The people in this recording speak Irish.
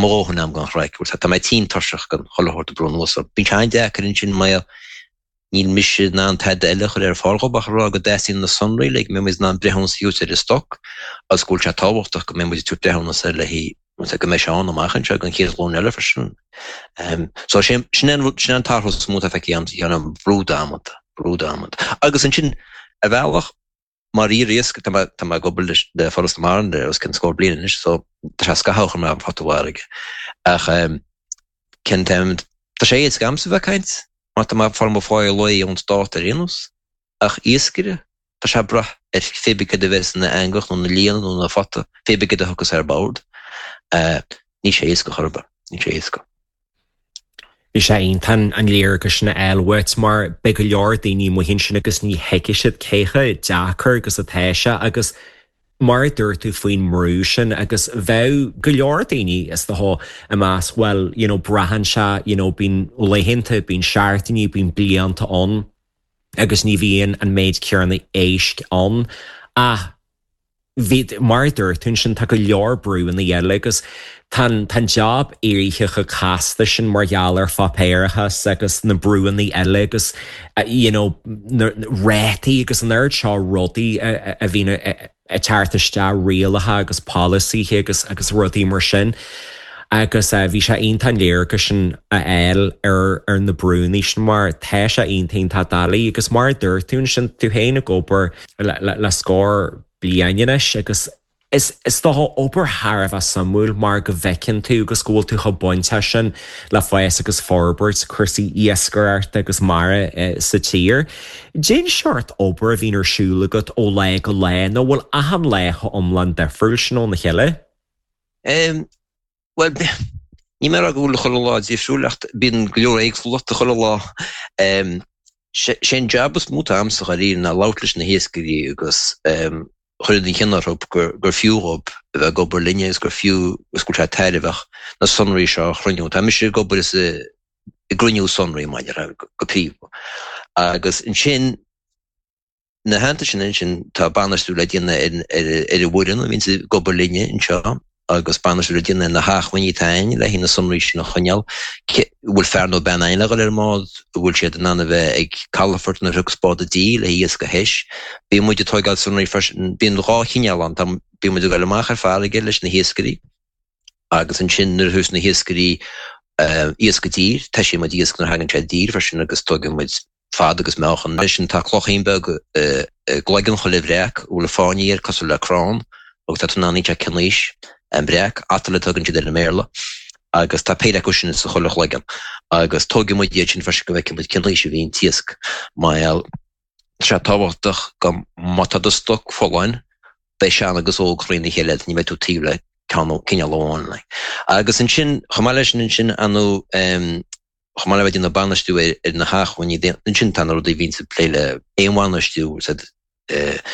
Mo dhóthain a'm den chraic, bhfuil 's a'd, tá mé tinn tuirseach den chuile shórt ag brú anuas orm. Bíonn sé an-deacair ansin mar níl mise in ann tada eile a chur ar fáil dhób ach a rá go dteastaíonn na sonraí le go mbeidh muid in ann breithiúnas a thabhairt ar an stoc agus go bhfuil sé tábhachtach go mbeidh muid ag tabhairt breithiúnas air le haghaidh go mbeidh sé ann amach anseo don chéad ghlúin eile freisin. So sin sin an rud, sin an t-athrú is mó atá feicthe a'msa, an brú damanta, brú damanta. Agus ansin, ar bhealach, Mar iar-iascaire, tá mé, tá mé ag obair leis, le Foras na Mara le os cionn scór bliain anois, so tá sé scaitheamh a chuir mé an phota i bhfarraige. Ach cén t-am, tá sé éasca a'msa bheith ag caint, mar tá mé ag fáil mo pháighe lae ón stát ar aon nós. Ach iascaire, tá sé ag brath ar pé bith céard a bheas ina eangach nó ina líonadh nó ina phota, pé bith céard a thiocfas ar bord. Níl sé éasca chor ar bith, níl sé éasca. Bhí sé iontach an léargas sin a fháil uait mar beidh go leor daoine amuigh ansin agus ní thuigfidh siad cé chomh deacair agus atá sé agus mar a dúirt tú faoin mbrú sin agus bheadh go leor daoine is dócha ag meas bhuel you know braitheann sé you know bíonn laethanta, bíonn seachtainí, bíonn blianta ann agus ní bhíonn an méid céanna éisc ann ach Bhí, mar a dúirt tú ansin, tá go leor brúanna eile agus tá an, tá an jab éirithe chomh casta sin mar gheall ar pháipéarachas agus na brúanna eile agus you know na rátaí agus an oiread seo rudaí a, a bhíonn ag teacht isteach, rialacha agus polasaithe agus, agus rudaí mar sin. Agus bhí sé iontach an léargas sin a fháil ar, ar na brúanna sin mar tá sé iontach, iontach doiligh agus mar a dúirt tú ansin, tú féin ag obair le scór bliain anois agus is is dócha obair thar a bheith suimiúil mar go bhfeiceann tú agus go bhfuil tú chomh bainteach sin le fás agus forbairt cúrsaí iascaireachta agus mara sa tír. Cén seort obair a bhíonn ar siúl agat ó lá go lá nó bhfuil achan lá chomh iomlán difriúil sin óna chéile? Bhuel, níl mé ag rá go bhfuil chuile lá difriúil ach bíonn go leor éagsúlachta chuile lá. Sé an jab is mó atá a'msa dháiríre ná labhairt leis na hiascairí agus chur ina gcionn orthu gur fiú dhóibh a bheith ag obair linne agus gur fiú agus go bhfuil sé tairbheach na sonraí seo a chruinniú. Tá mise ag obair is ag cruinniú sonraí mar a déarfá go príomha. Agus ansin Ina theannta sin ansin tá bainistiú le déanamh ar ar an bhfoireann a bhíonns ag obair linne anseo agus bainistiú le déanamh ar na hacmhainní atá againn le haghaidh na sonraí sin a choinneáil. An bhfuil fear nó bean againn le dhul ar an mbád? An bhfuil siad in ann a bheith ag calafort nuair a thiocfas bád i dtír le haghaidh iasc a thomhas? Bíonn muid ag tóigeáil sonraí freisin. Bíonn dhá chineál ann. Tá, bíonn muid ag dul amach ar farraige leis na hiascairí agus ansin nuair a thabharfas na hiascairí iasc i dtír, toisíonn muid iasc nuair a thagann sé i dtír freisin agus tóigeann muid fad agus meáchan. Ansin tá cloichín beag i gcloigeann chuile bhreac a bhfuil fáinní air cosúil le crann agus tá tú in ann inseacht cén aois an breac, atoll a tugann siad air i mBéarla, agus tá péire acu sin sa chuile chloigeann agus tógfaidh muid iad sin freisin go bhfeicfidh muid cén aois a bhí an t-iasc. Mar gheall tá sé tábhachtach go má tá do stoc folláin beidh sean agus óg thrína chéile ní bheidh tú taobh le ceann cineál amháin. Agus ansin chomh maith leis sin ansin anu Chomh maith le bheith ag déanamh bainistiú ar na hacmhainní, ansin tá na rudaí a bhíonns ag plé le éanbhainistiú,